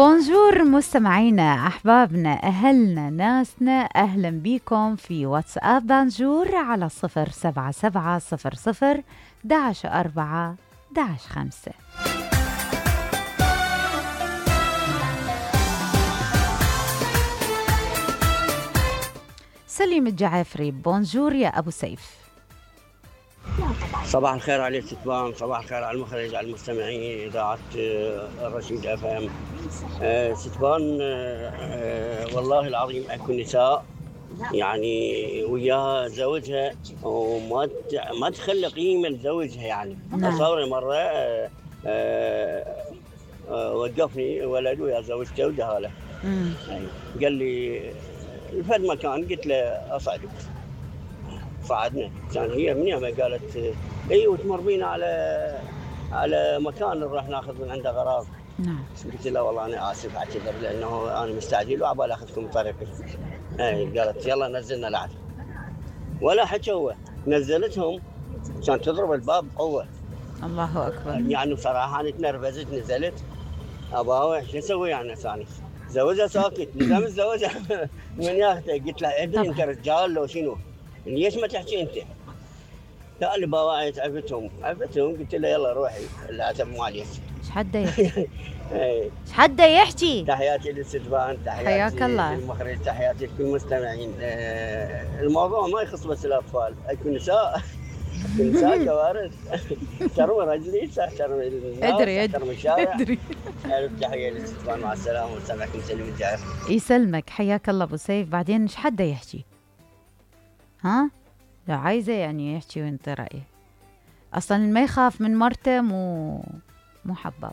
بونجور مستمعينا أحبابنا أهلنا ناسنا، أهلا بكم في واتساب بانجور على 07700 11 4 11 5. سليم الجعافري، بونجور يا أبو سيف. صباح الخير على ستبان، صباح الخير على المخرج، على المستمعين إذاعة الرشيد اف ام. ستبان والله العظيم اكو نساء يعني وياها زوجها وما تخلي قيمة لزوجها يعني. تصوري مرة وقفني ولد ويا زوجته ودهاله، قال لي الفد مكان، قلت له أصعد. صعدنا، كان هي من يوم قالت اي وتمر بينا على مكان نروح ناخذ من عنده غراض. نعم. قلت له والله انا اسف اعتذر لانه انا مستعجل وعبالي اخذكم بطريقي. قالت يلا نزلنا العد، ولا حكى هو نزلتهم كانت تضرب الباب بقوه. الله اكبر. يعني بصراحه انا تنرفزت، نزلت اباوع شو اسوي يعني ثاني؟ زوجها ساكت، لزم زوجها من ياخذه. قلت له ادري انت رجال لو شنو؟ ليش ما تحكي انت؟ لا اللي بواعيت عفتهم. قلت له يلا روحي العتب مالي. ايش حده يحكي؟ ايش حده يحكي؟ تحياتي للستبان، تحياتي حياك الله للمخرج، تحياتي لكل المستمعين. الموضوع ما يخص بس الاطفال، اكو نساء كوارث. ترمي رجلي، ترمي الناس، ترمي الشارع. ادري. تحيه للستبان، مع السلامه، وسامعكم سليم الجعفري. يسلمك، حياك الله ابو سيف. بعدين ايش حده يحكي؟ ها؟ لا عايزه يعني يحكي وانت رايه. اصلا ما يخاف من مرته مو حباب.